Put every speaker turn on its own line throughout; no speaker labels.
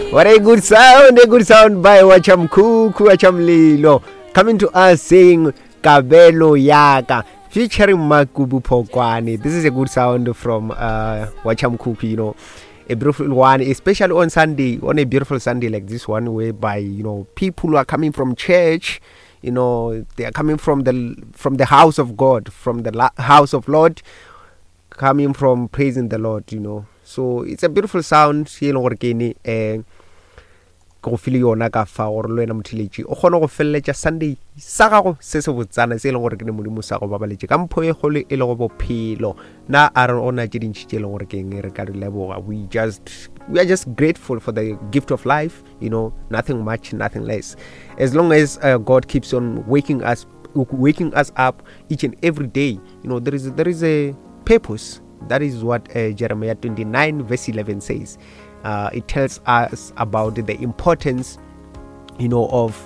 What a good sound, a good sound by Wachamkuku Wachamlilo. Coming to us saying Kabelo Yaka featuring Makubu Pokwane. This is a good sound from uh, Wachamkuku, you know. A beautiful one, especially on Sunday, on a beautiful Sunday like this one, whereby you know people are coming from church, you know they are coming from the from the house of God, from the la- house of Lord, coming from praising the Lord, you know. So it's a beautiful sound ye e leng gore ke ene um ke go file yona ka fa gore le wena motheletši o kgone go feleletša Sunday sa gago se se botsana se e leng gore ke ne modimo sa go babaletše ka mpho e kgolo e lego bophelo na a re gona tše dintši tše e leng gore ke eng re ka di leboga we just we are just grateful for the gift of life you know nothing much nothing less as long as uh, god keeps on waking us waking us up each and every day you know there is there is a purpose that is what uh, jeremiah 29 verse 11 says uh, it tells us about the importance you know of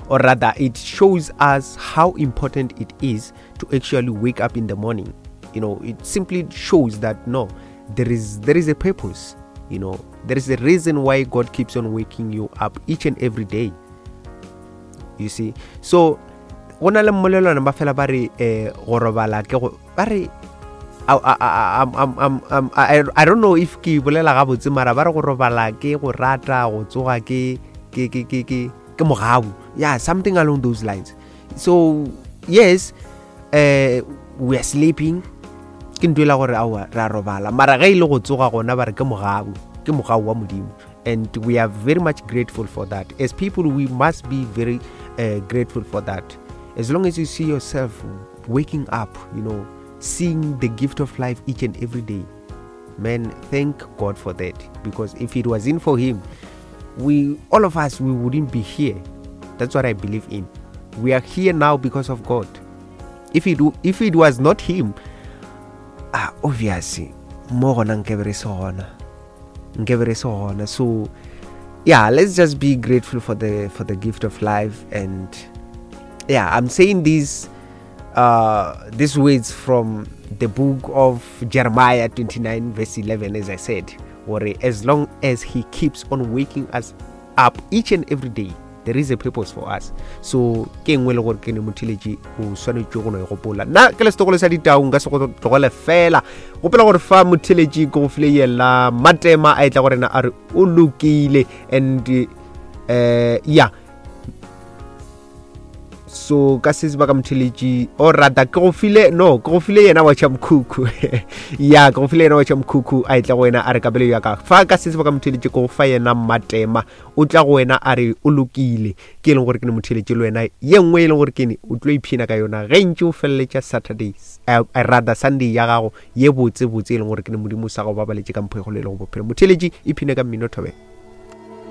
or rather it shows us how important it is to actually wake up in the morning you know it simply shows that no there is there is a purpose you know there is a reason why god keeps on waking you up each and every day you see so go na le mmolelwana ba fela ba re um go robala ke go ba re I, I, I, I don't know if ke bolela gabotse mara ba re go robala ke go rata go tsoga ke ke ke ke ke ke mogabu yeah something along those lines so yes uh, we are sleeping ke ntho e la gore aowa re a robala mara ge e le go tsoga gona ba re ke mogabu ke mogabu wa modimo and we are very much grateful for that as people we must be very uh, grateful for that as long as you see yourself waking up you know seeing the gift of life each and every day man thank god for that because if it wasn't for him we all of us we wouldn't be here that's what i believe in we are here now because of god if it if it was not him ah obviously mo gona nke re se gona nke be re se gona so yeah let's just be grateful for the for the gift of life and yeah i'm saying these uh these words from the book of jeremiah 29 verse 11 as i said or as long as he keeps on waking us up each and every day there is a purpose for us so ke nngwe le gore ke ne motheletši o swanetše go no e gopola nna ke le setogolo sa ditau nka se go tlogele fela gopola gore fa motheletši ke go file yela matema a etla go rena a re o lokile and uh, yeah so ka se sebaka motheletši o rata ke go file no ke go file yena wa mkhukhu ya ke go file yena wa mkhukhu a etla go wena a re kabelo ya ka fa ka se sebaka motheletši ke go fa yena matema o tla go wena a re o lokile ke e leng gore ke ne motheletši le wena ye nngwe e leng gore ke ne o tlo iphina ka yona ge ntše o feleletša saturday uh, rather sunday ya gago ye botse botse e leng gore ke ne modimo sa go babaletše ka mpho e golo e lego bophelo motheletši iphine ka mmino thobela.